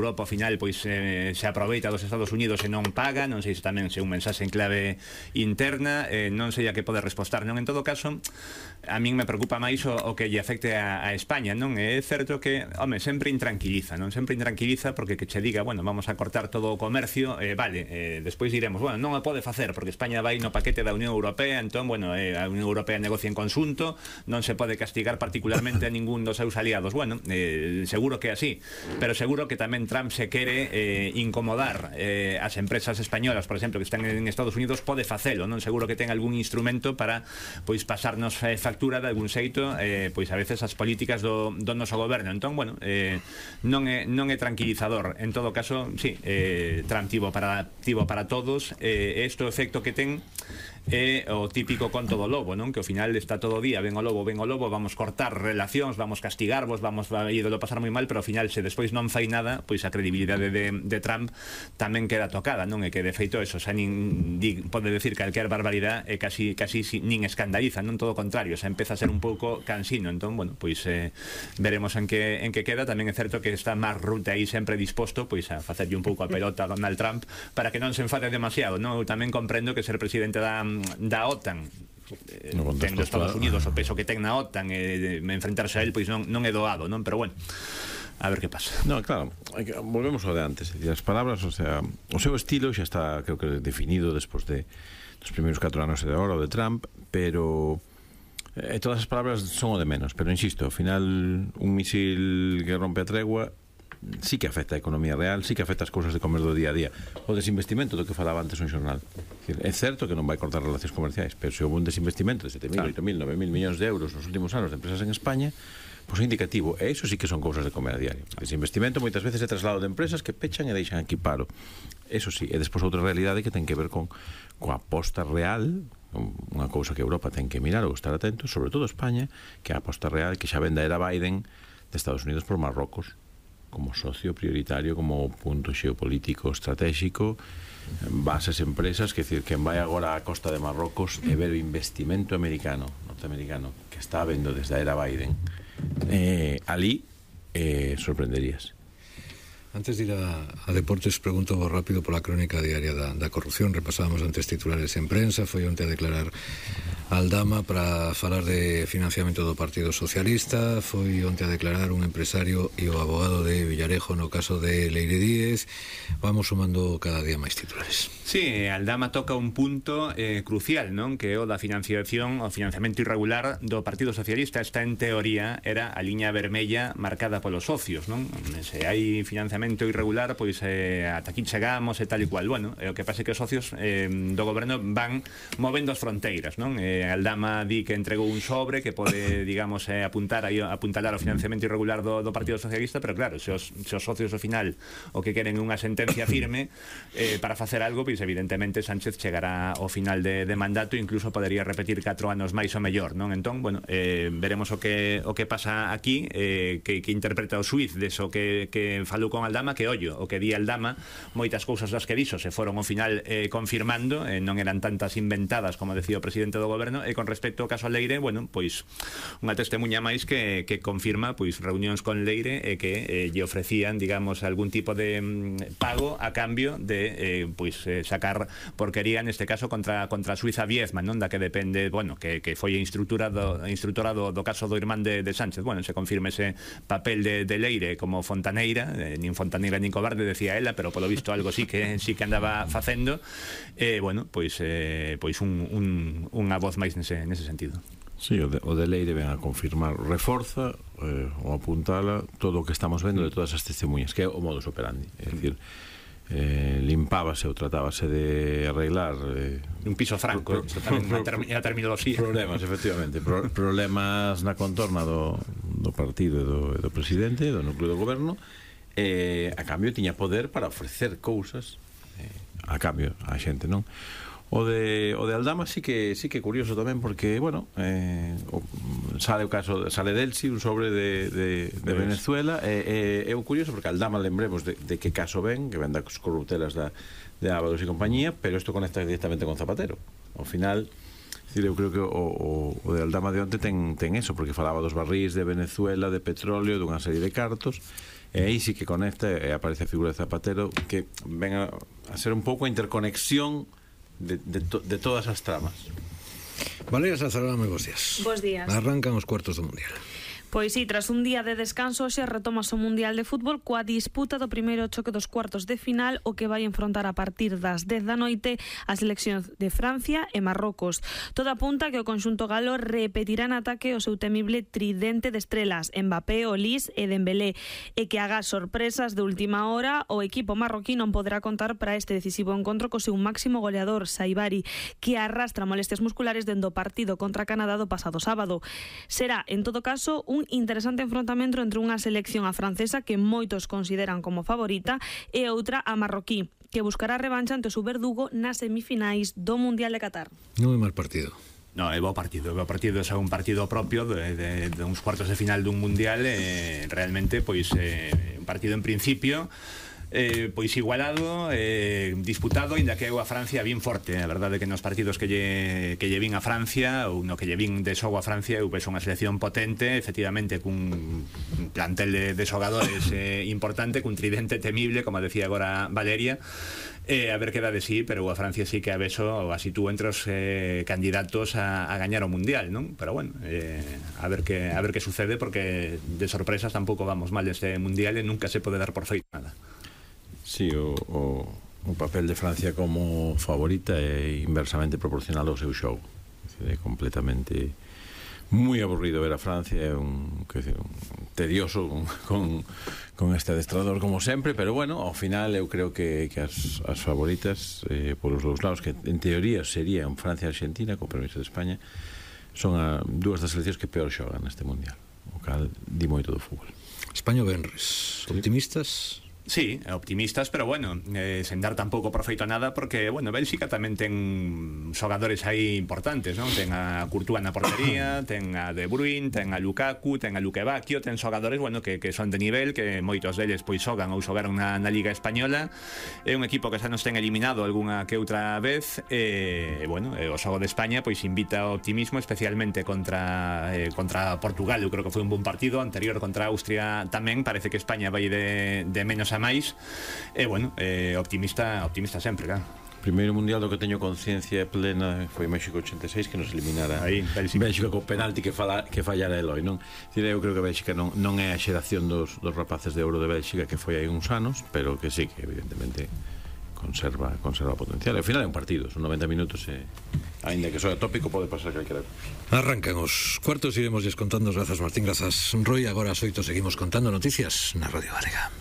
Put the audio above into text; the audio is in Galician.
Europa ao final pois se aproveita dos Estados Unidos e non paga, non sei se tamén se un mensaxe en clave interna, non sei a que pode respostar, non? En todo caso, a min me preocupa máis o que lle afecte a España, non? É certo que, home, sempre intranquiliza, non? Sempre intranquiliza porque que che diga, bueno, vamos a cortar todo o comercio, vale, despois diremos, bueno, non o pode facer porque España vai no paquete da Unión Europea, entón, bueno, a Unión Europea negocia en conxunto, non se pode castigar particularmente a ningún dos seus aliados. Bueno, seguro que é así, pero seguro que tamén Trump se quere incomodar as empresas españolas, por exemplo, que están en Estados Unidos, pode facelo, non? Seguro que ten algún instrumento para, pois, pasarnos factura de algún xeito, pois, a veces as políticas do noso goberno. Entón, bueno, non é tranquilizador. En todo caso, sí, Trump tivo para todos, este efecto que ten é o típico conto do lobo, non? Que ao final está todo o día, ven o lobo, vamos cortar relacións, vamos castigarvos, vamos a ídolo pasar moi mal, pero ao final se despois non fai nada, pois a credibilidade de Trump tamén queda tocada, non? E que de feito eso, xa pode decir calquer barbaridade e casi nin escandaliza, non? Todo o contrario, xa empeza a ser un pouco cansino. Entón, bueno, pois veremos en que queda. Tamén é certo que está Mark Rutte aí sempre disposto pois a facerlle un pouco a pelota a Donald Trump para que non se enfade demasiado, non? Eu tamén comprendo que ser presidente da OTAN, tendo Estados Unidos o peso que ten na OTAN, enfrentarse a él pois non é doado, non? Pero bueno, a ver que pasa. No, claro, volvemos ao de antes, as palabras, o sea, o seu estilo xa está, creo que definido despois dos primeiros 4 anos de agora, o de Trump, pero todas as palabras son o de menos, pero insisto, ao final un misil que rompe a tregua sí que afecta a economía real, sí que afecta as cousas de comer do día a día. O desinvestimento do que falaba antes un xornal, é certo que non vai cortar relacións comerciais, pero se houve un desinvestimento de 7.000, 8.000, 9.000 millóns de euros nos últimos anos de empresas en España, pois é indicativo, e iso sí que son cousas de comer a diario. O desinvestimento moitas veces é traslado de empresas que pechan e deixan aquí paro, eso sí. E despois outra realidade que ten que ver coa aposta real, unha cousa que Europa ten que mirar ou estar atento, sobre todo España, que é a aposta real que xa vende a era Biden de Estados Unidos por Marrocos como socio prioritario, como punto xeopolítico estratégico, bases empresas, que decir, quen vai agora á costa de Marrocos e ver o investimento norteamericano que está habendo desde a era Biden, ali sorprenderías. Antes de ir a deportes, pregunto rápido pola crónica diaria da corrupción. Repasábamos antes titulares en prensa. Foi onte a declarar Aldama para falar de financiamento do Partido Socialista. Foi onte a declarar un empresario e o abogado de Villarejo no caso de Leire Díez. Vamos sumando cada día máis titulares. Sí, Aldama toca un punto crucial, non? Que o da financiación, o financiamento irregular do Partido Socialista. Esta, en teoría, era a liña vermella marcada polos socios, non? Se hai financiamento irregular, pois ata aquí chegamos e tal e cual. Bueno, o que pasa é que os socios do goberno van movendo as fronteiras, non? Aldama di que entregou un sobre que pode, digamos, apuntalar o financiamento irregular do Partido Socialista, pero claro, se os socios ao final o que queren unha sentencia firme para facer algo, pois evidentemente Sánchez chegará ao final de mandato e incluso podería repetir 4 anos máis ou mellor, non? Entón, bueno, veremos o que pasa aquí, que interpreta o xuiz deso que falou con Aldama, que ollo, o que di Aldama, moitas cousas das que dixo se foron ao final confirmando, non eran tantas inventadas como decía o presidente do goberno. E con respecto ao caso a Leire, bueno, pois unha testemunha máis que confirma pois reunións con Leire e que lle ofrecían, digamos, algún tipo de pago a cambio de pois sacar porquería, neste caso contra a Suiza Viezman, non? Da que depende, bueno, que foi a instructora do caso do irmán de Sánchez. Bueno, se confirma ese papel de Leire como fontaneira, nin fontaneira nin cobarde, decía ela, pero polo visto algo sí que andaba facendo. Bueno, pois unha voz máis nese sentido. Sí, o de Leire ven a confirmar, reforza ou apuntala todo o que estamos vendo de todas as testemunhas, que é o modus operandi, é dicir, limpábase ou tratábase de arreglar un piso franco, a terminoloxía, problemas, efectivamente, problemas na contorna do partido e do presidente, do núcleo do goberno. A cambio tiña poder para ofrecer cousas a cambio a xente, non? O de Aldama sí que é curioso tamén, porque, bueno, sale o caso, sale Delsi, un sobre de Venezuela, é o curioso porque Aldama, lembremos de que caso ven, que ven das corruptelas de Ábalos e compañía, pero isto conecta directamente con Zapatero. Ao final, eu creo que o de Aldama de onte ten eso, porque falaba dos barrís de Venezuela, de petróleo, dunha serie de cartos, e aí sí que conecta e aparece a figura de Zapatero, que ven a ser un pouco a interconexión de todas as tramas. Valeria Sazarán, moi bons días. Bos días. Arrancan os cuartos do Mundial. Pois sí, tras un día de descanso hoxe retomase o Mundial de Fútbol coa disputa do primeiro choque dos cuartos de final, o que vai enfrontar a partir das 10 da noite as seleccións de Francia e Marrocos. Todo apunta que o conxunto galo repetirá en ataque o seu temible tridente de estrelas, Mbappé, Olise e Dembélé, e que haga sorpresas de última hora, o equipo marroquí non poderá contar para este decisivo encontro co seu máximo goleador, Saibari, que arrastra molestias musculares dende o partido contra Canadá do pasado sábado. Será, en todo caso, un interesante enfrontamento entre unha selección a francesa que moitos consideran como favorita e outra a marroquí, que buscará revancha ante o seu verdugo nas semifinais do Mundial de Qatar. Non é mal partido. No, é bo partido, é un partido propio de uns cuartos de final dun Mundial, realmente, pois, un partido en principio pois igualado, disputado, ainda que eu a Francia vin forte. A verdade é que nos partidos que lle vin a Francia, ou no que lle vin de xogo a Francia, eu penso unha selección potente, efectivamente cun plantel de xogadores importante, cun tridente temible, como decía agora Valeria. A ver que dá de sí, pero a Francia sí que a beso así tú entre os candidatos a gañar o Mundial, non? Pero bueno, a ver que sucede, porque de sorpresas tampouco vamos mal este Mundial e nunca se pode dar por feito nada. Sí, o papel de Francia como favorita é inversamente proporcional ao seu xogo. É completamente moi aburrido ver a Francia, é un tedioso con este adestrador como sempre, pero bueno, ao final eu creo que as favoritas polos dous lados, que en teoría serían Francia e Argentina, con permiso de España, son dúas das seleccións que peor xogan neste Mundial, o cal di moito do fútbol. España o venres, optimistas? Sí, optimistas, pero bueno, sen dar tampouco por feito nada, porque, bueno, Bélxica tamén ten xogadores aí importantes, non? Ten a Courtois na portería, ten a De Bruyne, ten a Lukaku, ten a Luque Bacchio, ten xogadores, bueno, que son de nivel, que moitos deles pois xogan ou xogaron na Liga Española. É un equipo que xa nos ten eliminado algunha que outra vez, bueno, o xogo de España pois invita ao optimismo, especialmente contra Portugal. Eu creo que foi un bon partido, anterior contra Austria tamén, parece que España vai de menos a máis, bueno, optimista sempre, claro. Primeiro Mundial do que teño conciencia plena foi México 86, que nos eliminara aí, Bélxica co penalti que fallara Eloi, non? Eu creo que Bélxica non é a xeración dos rapaces de ouro de Bélxica que foi aí uns anos, pero que sí, que evidentemente conserva potencial. Ao final é un partido, son 90 minutos e aínda que soa tópico pode pasar calquera cousa. Arrancan os cuartos, iremos contando. Grazas Martín, grazas Roy. Agora ás 8 seguimos contando noticias na Radio Galega.